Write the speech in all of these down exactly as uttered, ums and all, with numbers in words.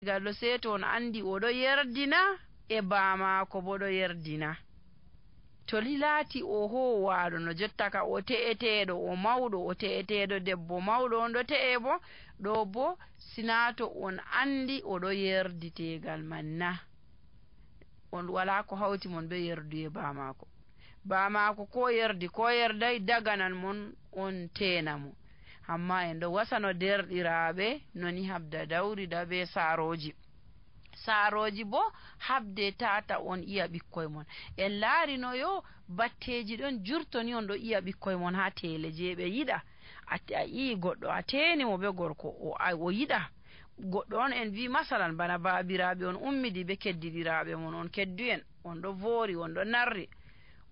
gallo seto on andi o ɗo yerdina e baamaako bo ɗo yerdina. To lilaati o howaɗo no jotta ka o te'eteɗo o mawɗo o te'eteɗo debbo mawɗo on ɗo te'e bo ɗo bo sinato on andi o ɗo yerdi tegal man na on wala ko hawti mon be yerdu e baamaako. Baamaako ko yerdi ko yerdai daganan mon on tena mo. Amma en ɗo wasano derɗiraaɓe noni habda dawrida be saaroji. Saaroji bo habde tata on iya ɓikkoy mon. En laari no yo batteji ɗon jurtoni on ɗo iya ɓikkoy mon ha tele je ɓe yiɗa. A ii goɗɗo a teni mo be gorko o, o yiɗa. Goɗɗo on en wi masalan bana baabiraaɓe on ummidi be keddiɗiraaɓe mon on kedduyen on ɗo voori on ɗo narri.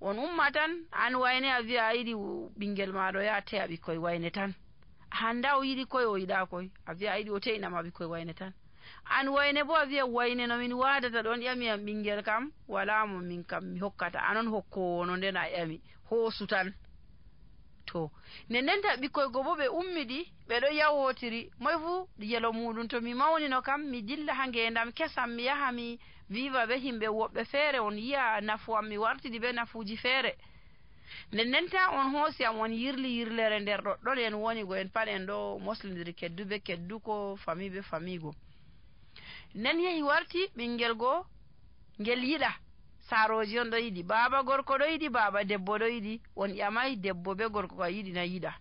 On umma tan an wayne a wi'a a yiɗi ɓingel maɗo ya te'a ɓikkoy wayne tan. Handa o yiɗi koy o yiɗa koy a wi'a a yiɗi o te'inama ɓikkoy wayne tan. An wayne bo a wi'a wayne no min wadata ɗon ƴami am ɓingel kam wala mo min kam mi hokkata anon hokkowo no nden a ƴami hoosu tan. To nden ta ɓikkoy go bo ɓe ummidi ɓe ɗo yawotiri moy fu yelo muɗum to mi mawnino kam mi dilla ha ngendam kesam mi yaha mi viva be himɓe woɓɓe feere on yi'a nafu am mi wartidi be nafuuji feere. Nden ta on hoosi am on yirli yirlere nder ɗoɗɗon en woni go en pat en ɗo moslidiri keddu be keddu ko fami be famigo. Nden yehi warti ɓingel go ngel yiɗa saaroji on ɗo yiɗi baaba gorko ɗo yiɗi baaba debbo ɗo yiɗi on ƴamai debbo be gorko ko yiɗi na yiɗa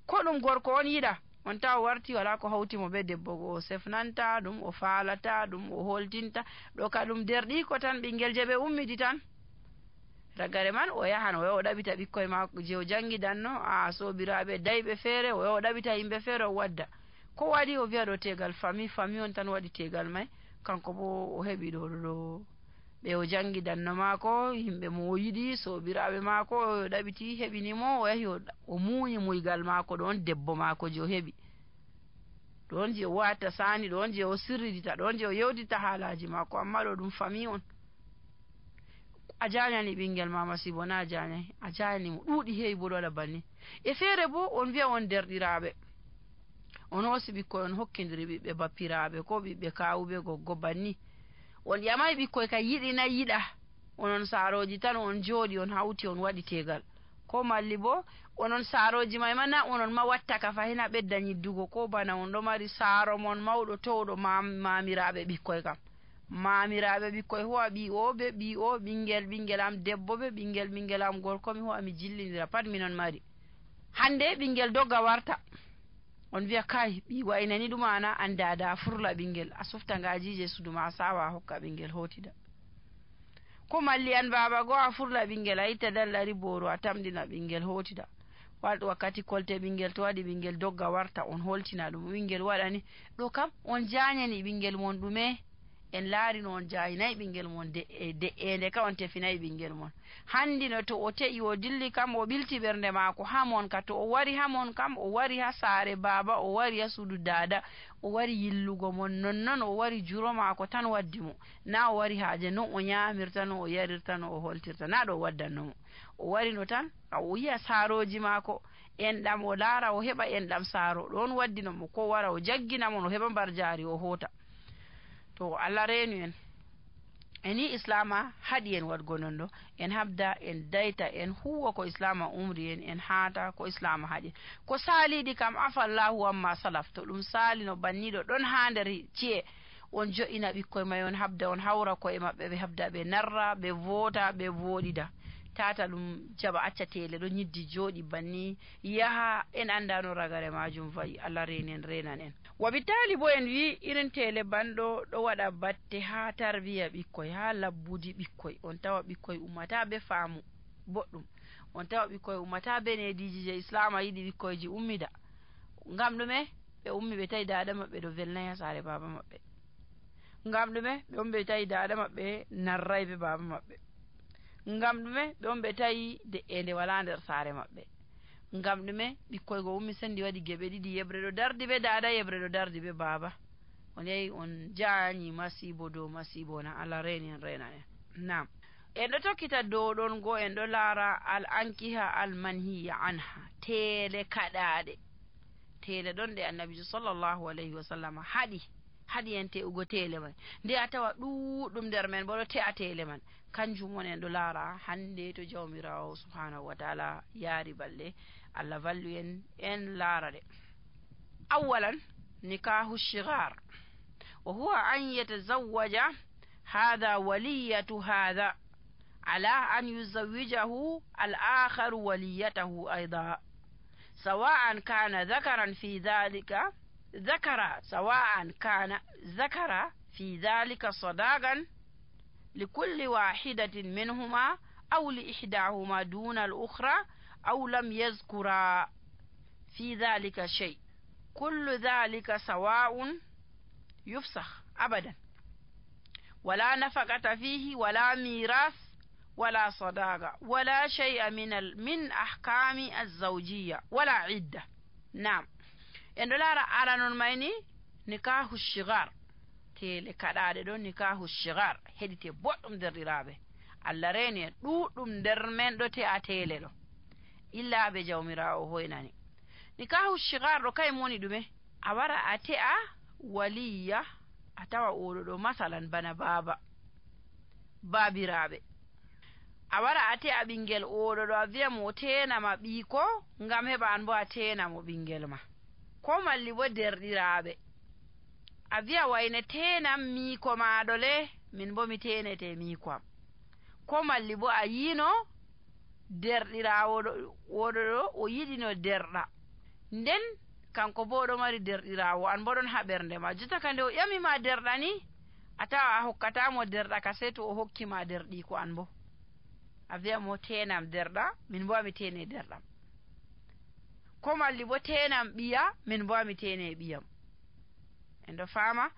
ko ɗum gorko on yiɗa on ta o warti wala ko hawti mo be debbo go o sefnanta ɗum o faalata ɗum o holtinta ɗo ka ɗum derɗi ko tan ɓingel je ɓe ummidi tan. Ragare man o yahan o yaha o ɗaɓita ɓikkoy maako je o jangidanno a sobiraɓe dayɓe feere o yaha o ɗaɓita yimɓe feere o wadda ko waɗi o wi'a ɗo tegal fami fami on tan waɗi tegal mai kanko bo o heɓi ɗo ɗo ɓe o jangidanno maako yimɓe mo o yiɗi sobiraɓe maako o ɗaɓiti heɓinimo o yahi o muuyi muygal maako ɗon debbo maako je o heɓi ɗon je o watta sani ɗon je o sirridita ɗon je o yewdita haalaji maako amma ɗo ɗum fami on. A janyani ɓingel ma masibo na a janyai a jani mo ɗuuɗi heewi bo ɗo waɗa banni. E feere bo on wi'a on derɗiraaɓe on hoosi ɓikkoy on hokkidiri ɓiɓɓe bappiraaɓe ko ɓiɓɓe kawuɓe goggo banni on ƴamai ɓikkoy ka yiɗi na yiɗa onon saaroji tan on jooɗi on hawti on waɗi tegal ko malli bo onon saaroji mai ma na onon ma watta ka fahin a ɓedda nyiddugo ko bana on ɗo mari saaro mon mawɗo towɗo mamiraaɓe ɓikkoy kam mamiraaɓe ɓikkoy ho'a ɓi o be ɓi o ɓingel ɓingel am debbo be ɓingel ɓingel am gorko mi ho'a mi jillindira pat minon mari. Hande ɓingel dogga warta on wi'a kai ɓi waynani ɗum ana anda da furla ɓingel a sufta ngajije suduma a sawa hokka ɓingel hotida ko malli an baba go a furla ɓingel a itta dallari boro a tamdina ɓingel hotida wakkati kolte ɓingel to waɗi ɓingel dogga warta on holtina ɗum ɓingel waɗani ɗo kam on janyani ɓingel mon ɗume en laari no on jayinayi ɓingel mon de'ende ka on tefinayi ɓingel mon. Handi no to o te'i o dilli kam o ɓilti ɓernde maako hamon ka to o wari hamon kam o wari ha saare baba o wari ha suudu dada o wari yillugo mon nonnon o wari juro maako tan waddi mo na o wari haaje no o nyamirta no o yarirta no o holtirta na ɗo waddanno mo o wari no tan o yi'a saaroji maako enɗam o laara o heɓa enɗam saaro ɗon waddino mo ko wara o jaggina mon o heɓa mbar jaari o hota. To Allah reenu en eni islama haɗi en waɗgo non ɗo en habda en dayta en huwa ko islama umri en en haata ko islama haɗi ko saaliɗi kam afallahu amma salaf to ɗum saali no banniɗo ɗon ha nder ci'e on jo'ina ɓikkoy may on habda on hawra koye maɓɓe ɓe habda ɓe narra ɓe voota ɓe voɗida tata ɗum jaɓa acca tele ɗo nyiddi jooɗi banni yaha en andano ragare majum fayi. Allah reeni en renan en. Wabitali bo en wi irin tele banɗo ɗo waɗa batte ha tarbiya ɓikkoy ha labbudi ɓikkoy on tawa ɓikkoy ummata be faamu boɗɗum on tawa ɓikkoy ummata be nediji je islama yiɗi ɓikkoyji ummida ngam ɗume ɓe ummi ɓe tawi dada maɓɓe ɗo velnai ha saare baba maɓɓe ngam ɗume ɓe ummi ɓe tawi dada maɓɓe narrai be baba maɓɓe ngam ɗume ɓe ummi ɓe tawi de'ende wala nder saare maɓɓe ngam ɗume ɓikkoy go ummi sendi waɗi geɓe ɗiɗi yebre ɗo dardi be dada yebre ɗo dardi be baba on yehi on jaanyi masibo dow masibo na. Allah reeni en rena en. Nam en ɗo tokkita dow ɗon go en ɗo laara al ankiha al manhiya anha tele kaɗaɗe tele ɗon ɗe annabijo sallallahu alayhi wa sallam haɗi haɗi en te'ugo tele man nde a tawa ɗuɗɗum nder men bo ɗo te'a tele man kanjum woni en ɗo laara hande to jawmirawo subhanahu wa taala yaari balɗe Allah vallu en en laara ɗe awalan nikahu shigar wa huwa an yatazawwaja hadha waliyatu hadha ala an yuzawwijahu al-akhar waliyatahu aidan سواء كان ذكرا في ذلك ذكر سواء كان ذكر في ذلك صداقا لكل واحدة منهما أو لإحداهما دون الأخرى أو لم يذكر في ذلك شيء كل ذلك سواء يفسخ أبدا ولا نفقة فيه ولا ميراث ولا صداقة ولا شيء من من أحكام الزوجية ولا عدة نعم إن دولار أرانون مايني نكاح الشغار تيلي كدادة دون نكاح الشغار هدي تبوتم در رابه الله ريني دوتم در من دوتي أتيلي دو إلا بجومراو هويناني نكاح الشغار رو كاي موني دومي أورا أتيا وليا أتوا أولو مثلا بنا بابا بابي رابه a wara a te a ɓingel oɗo ɗo a wiya mo tenama ɓiiko ngam heɓa an bo a tenamo ɓingel ma ko malli bo derɗiraɓe a wiya wayne tenam miiko maɗo le min bo mi tenete miiko am ko malli bo a yino derɗirawo oɗo ɗo o yiɗino derɗa nden kanko bo ɗo mari derɗirawo an bo ɗon ha ɓernde ma jotta ka nde o ƴamima derɗa ni a tawa a hokkatamo derɗa ka sey to o hokkima derɗi ko an bo a wiya mo tenam derɗa min bo ami tene derɗam ko malli bo tenam ɓiya min bo ami tene ɓiyam en ɗo fama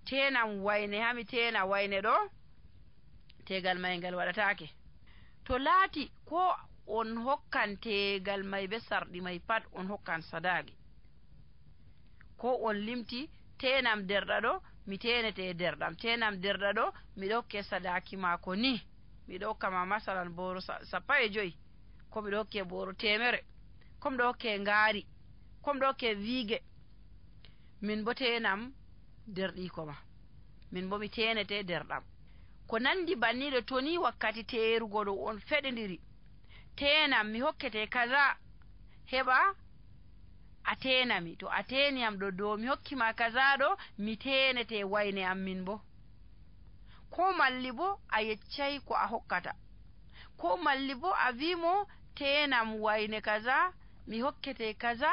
tenam wayne hami tena wayne ɗo tegal may ngal waɗatake to laati ko on hokkan tegal may be sarɗi may pat on hokkan sadaki ko on limti tenam derɗa ɗo mi tenete derɗam tenam derɗa ɗo miɗo hokke sadaki mako ni miɗo hokkama masalan boro sappo e joyi ko miɗo hokke boro temere ko miɗo hokke ngaari ko miɗo hokke wiige min bo tenam derɗiko ma min bo mi tenete derɗam ko nandi banniɗo to ni wakkati terugo ɗo on feɗidiri tenam mi hokkete kaza heɓa a tenami to a teniyam ɗo dow mi hokkima kaza ɗo mi tenete wayne am min bo ko malli bo a yeccai ko a hokkata ko malli bo a wimo tenam wayne kaza mi hokkete kaza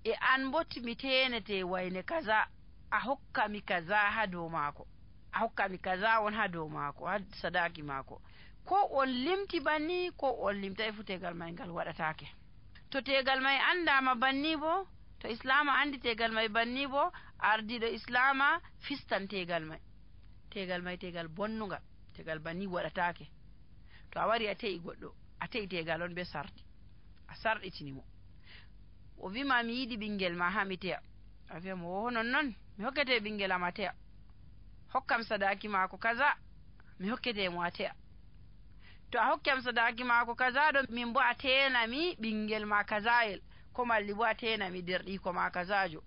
e an bo mi tenete wayne kaza a hokkami kaza ha dow maako a hokkami kaza on ha dow maako ha sadaki maako ko on limti banni ko on limtai fu tegal may ngal waɗatake to tegal may andama banni bo to islama andi tegal may banni bo ardiɗo islama fistan tegal may tegal may tegal bonnugal tegal banni waɗatake to a wari a te'i goɗɗo a te'i tegal on be sardi a sarɗitinimo o wima mi yiɗi ɓingel ma ha mi te'a a wiya mo o non non mi hokkete ɓingel am a te'a hokkam sadaki mako kaza mi hokkete mo a te'a to a hokkam sadaki mako kaza ɗo min bo a tenami ɓingel ma kazayel ko malli bo a tenami derɗiko ma kazajo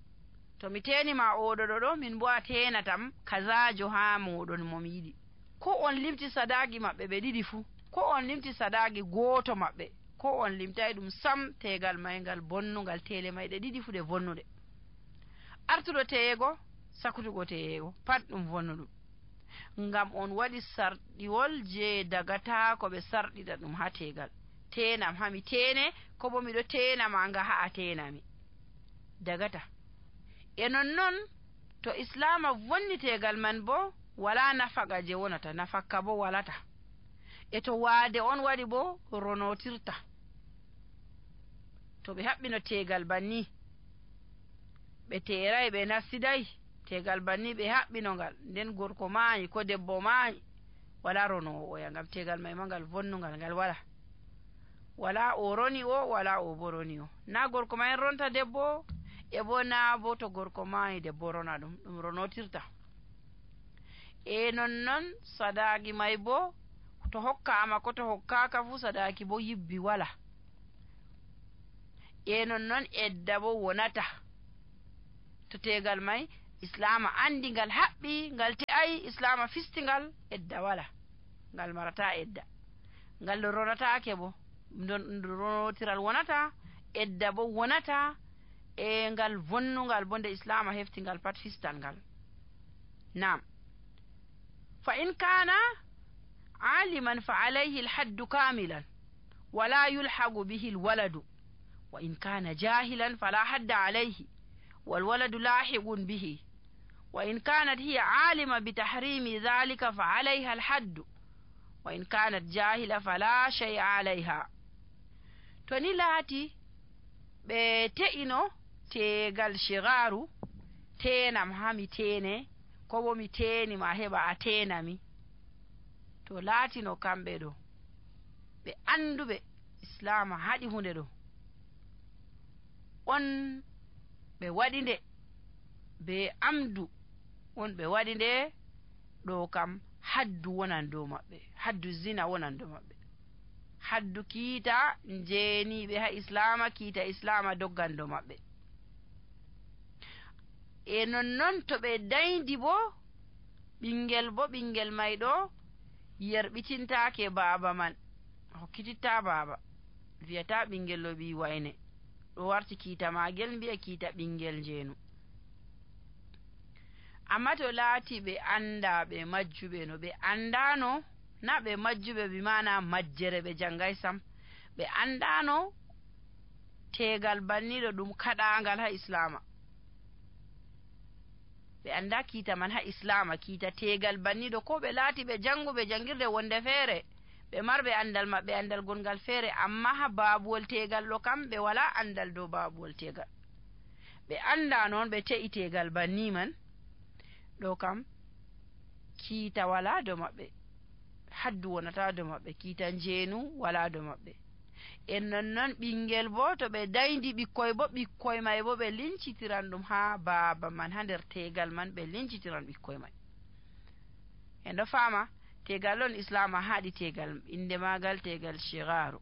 to mi tenima oɗo ɗo ɗo min bo a tenatam kazajo ha moɗon momi yiɗi ko on limti sadaki maɓɓe ɓe ɗiɗi fuu ko on limti sadaki goto maɓɓe ko on limtai ɗum sam tegal may ngal bonnugal tele mayɗe ɗiɗi fu ɗe bonnuɗe artuɗo teyego sakutugo teyego pat ɗum vonnuɗum ngam on waɗi sarɗiwol je dagata ko ɓe sarɗita ɗum ha tegal tenam hami tene ko bo miɗo tenama nga ha a tenami dagata e nonnon to islama vonni tegal man bo wala nafaga je wonata nafakka bo walata e to waade on waɗi bo ronotirta to ɓe haɓɓino tegal banni ɓe teerai ɓe nassiday tegal banni ɓe haɓɓino ngal nden gorko maayi ko debbo maayi wala ronowo oya ngam tegal may ma ngal vonnugal ngal wala wala o roni o wala o bo roni o na gorko may ronta debbo e bo na bo to gorko maayi debbo rona ɗum ɗum ronotirta e nonnon sadaki may bo to hokkama ko to hokkaka fu sadaki bo yibbi wala e nonnon edda bo wonata to tegal may islama andi ngal haɓɓi ngal te'ai islama fistingal edda wala ngal marata edda ngal ronatake bo ronotiral wonata edda bo wonata e ngal vonnugal bo nde islama hefti ngal pat fistan ngal nam fa in kana aliman fa alayhi alhaddu kamilan wala yulhagu bihi alwaladu wa in kana jahilan fala hadda alayhi والولد لاحق به وإن كانت هي عالمة بتحريم ذلك فعليها الحد وإن كانت جاهلة فلا شيء عليها توني لاتي بتئنو تيغال شغارو تينام هامي تيني كوبو مي تيني ما هبا أتينامي تو لاتي نو كامبي دو ɓe anduɓe islama haɗi hunde ɗo on ɓe waɗi nde be amdu on ɓe waɗi nde ɗo kam haddu wonan dow maɓɓe haddu zina wonan dow maɓɓe haddu kiita jeeniɓe ha islama kiita islama doggan dow maɓɓe e nonnon to ɓe daydi bo ɓingel bo ɓingel may ɗo yerɓitintake baaba man hokkititta baaba wiyata ɓingel ɗo ɓi wayne ɗo warti kiita magel mbiya kiita ɓingel jeenu amma to laati ɓe anda ɓe majjuɓe no ɓe andano na ɓe majjuɓe bi mana majjere ɓe jangay sam ɓe andano tegal banniɗo ɗum kaɗangal ha islama ɓe anda kiita man ha islama kiita tegal banniɗo ko ɓe laati ɓe janguɓe jangirde wonde feere ɓe marɓe andal maɓɓe andal gongal feere amma ha baabuwol tegal ɗo kam ɓe wala andal dow baabuwol tegal ɓe anda noon ɓe te'i tegal banni man ɗo kam kiita wala dow maɓɓe haddu wonata dow maɓɓe kiita njeenu wala dow maɓɓe en nonnon ɓingel bo to ɓe daydi ɓikkoy bo ɓikkoy may bo ɓe lincitiran ɗum ha baaba man ha nder tegal man ɓe lincitiran ɓikkoy may en ɗo faama tegal on islama haɗi tegal inde magal tegal shigaru